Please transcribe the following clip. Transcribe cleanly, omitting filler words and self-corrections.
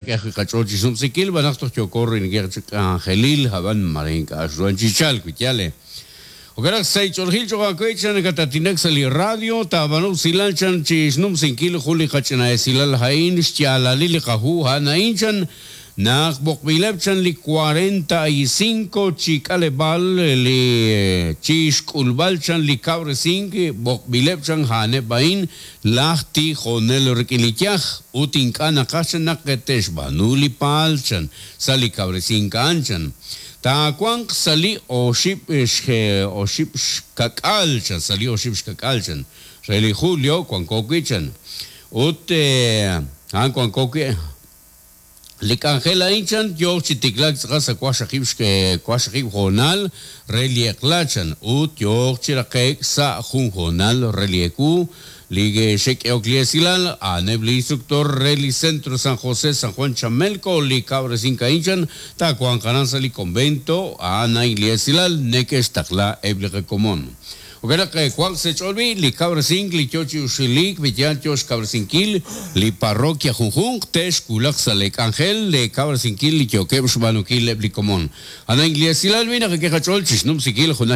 K'e ajwi' qach'ool chi xnumsinkil, b'an naq toj yooko rilinkil chi k'anjelil, ab'an mare ink'a' xruhan chi chalk, wi yaal e. Jo'kan naq sa' ch'oolejil cho'q aawe chan nakataatinak sa' li radio, taab'aanu usilal chan chi xnumsinkil jun li qach'ina esilal a'in, xyaalalil li qahu a'an a'in chan, Naq b'oqb'ileb' chan li 45 chi k'aleb'aal li chi xk'ulb'al chan li kawresink b'oqb'ileb' chan a'aneb' a'in laj tijonel rik'in li yaj ut ink'a' naqaj chan naq te'xb'aanu li paal chan sa' li kawresink a'an chan taawanq sa' li oxib' oxib' xkak'aal chan sa' li oxib' xkak'aal chan re li julio wanko wi' chan ut a'an wanko wi' Li k'anjel a'in chan yooq chi tiklaak tz'aqal sa' waqxaqib' waqxaqib' hoonal re li eq'la chan ut yooq chi raqe'k sa' jun hoonal re li ewu. Li xe'k'ehok li esilal a'aneb' li instructor re li Centro San José San Juan Chamelco li kawresink a'in chan taawanq aran sa' li convento a'an a'in li esilal neke'xtaqla eb' li qakomon. Jo'kan naq wanq sa' eech'ool b'i' li kawresink li yoo chi uxiliik wi yaal yoo xkawresinkil li parroquia junjunq te'xwulaq sa' lee k'anjel lee kawresinkil li yookeb' xb'aanunkil eb' li komon. A'an li esilal b'i' naqak'e qach'ool chixnumsinkil junaq.